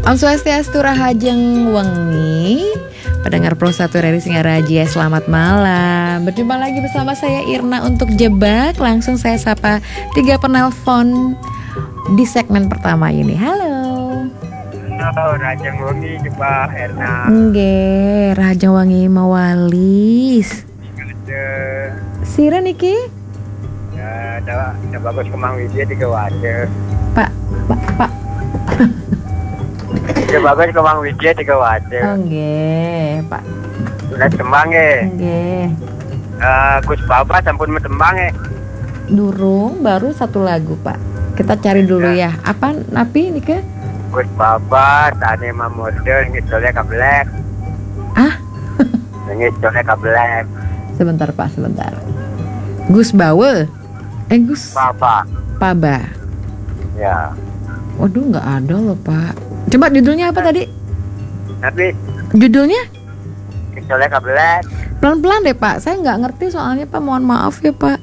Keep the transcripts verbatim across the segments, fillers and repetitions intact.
Om Swastiastu, rahajeng wengi. Pendengar Pro satu R R I Singaraja, selamat malam. Berjumpa lagi bersama saya Irna untuk Jebak. Langsung saya sapa tiga penelpon di segmen pertama ini. Halo. Halo, rahajeng wengi, Jebak, Erna. Nggih, rahajeng wengi mawalis. Ada, Sira niki? Ya, ada, ada Bagus Kemang Widya tiga wadah. Pak, Pak, Pak. Ada Bagus Kemang Widya tiga wadah. Oh, nggih, Pak. Sudah tembang ya. Nggih. Eh, Gus Baba sampun metembang ya. Durung, baru satu lagu, Pak. Kita cari dulu ya. Apa napi nika? Gus Baba, tane mamodel, ngidole kablek. Ah? Ngidole kablek. Sebentar, Pak, sebentar. Gus Bawe. Eh, Gus Baba. Paba. Ya. Waduh, nggak ada loh, Pak. Coba judulnya apa tadi? Tapi Judulnya? ngidole kablek. Pelan-pelan deh, Pak. Saya nggak ngerti soalnya, Pak. Mohon maaf ya, Pak.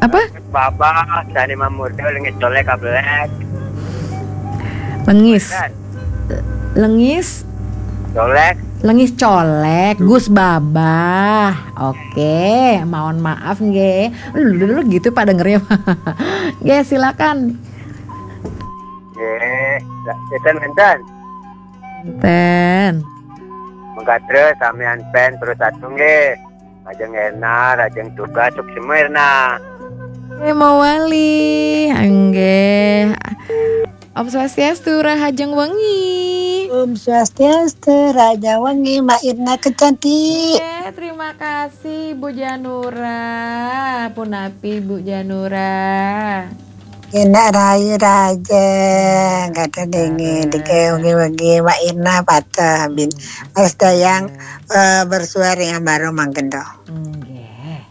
Apa? Gus Baba, tane mamodel, ngidole kablek. Lengis. Dan Lengis. Colek. Lengis colek, Gus Babah. Oke, mohon maaf nggih. Lu gitu Pak dengernya. Nggih, silakan. Nggih, enten enten. Ten. Mengkatre samian pen terus satu nggih. Rahajeng Erna, rahajeng tugas, suksma Erna. Eh, mawali. Nggih. Om Swastiastu, rahajeng wengi. Om Swastiastu, rahajeng wengi, Mbak Irna kecantik. Oke, terima kasih Bu Janura. Punapi Bu Janura. Enak rayu rahajeng, kata dingin, dike wengi-wengi, Mbak Irna patah bin. Mas Dayang eh, bersuara yang baru mangkendo. Nggih.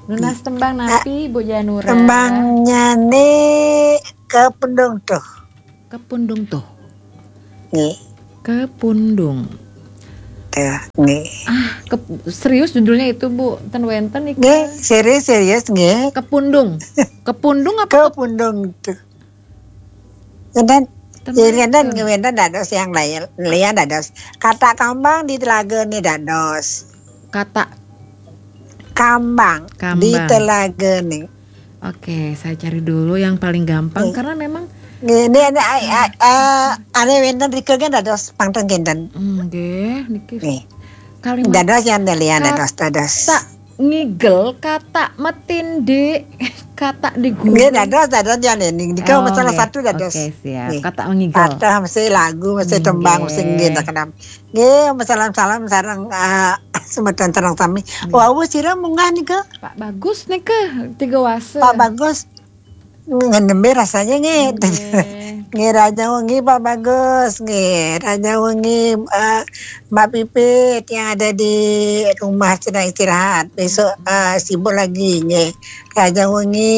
Nunas tembang napi Bu Janura? Tembangnya nih ke pendung tuh. Kepundung tuh. Nggih, Kepundung. tuh, nggih. Ah, ke, serius judulnya itu, Bu? Ten wenten iki. Nggih, serius serius nggih. Kepundung. Kepundung apa? Ke pendung tuh. Ngenten, Ten ya ngenten wenten. Ngenten dados yang lain, lian dados. Kata kambang di telaga nih dados. Kata. Kambang, Kambang. Di telaga nih. Oke, saya cari dulu yang paling gampang karena memang Nggih, ini ada ai- ai- eh, ada wenten rike kan dados pangten kinten. nggih niki Nggih. kalimat Dados yang lian Kat- dados dados. tak ngigel kata metinde kata di guru. Nggih dados dados yang ini. Niki Oh, salah nggih. Satu dados. Oke, siap. Nggih. Kata ngigel. Kata mesti lagu, mesti tembang, mesti Nggih. nggih tak kenal. Nggih, salam-salam sareng eh, semeton sareng sami. Wau sira munggah nika. Pak Bagus nika tiga wase. Pak Bagus ngenembe rasanya nggih. Nggih. Nggih rahajeng wengi Pak Bagus, nggih rahajeng wengi eh, Mbak Pipit yang ada di rumah sedang istirahat. Besok eh, sibuk lagi nggih. Rahajeng wengi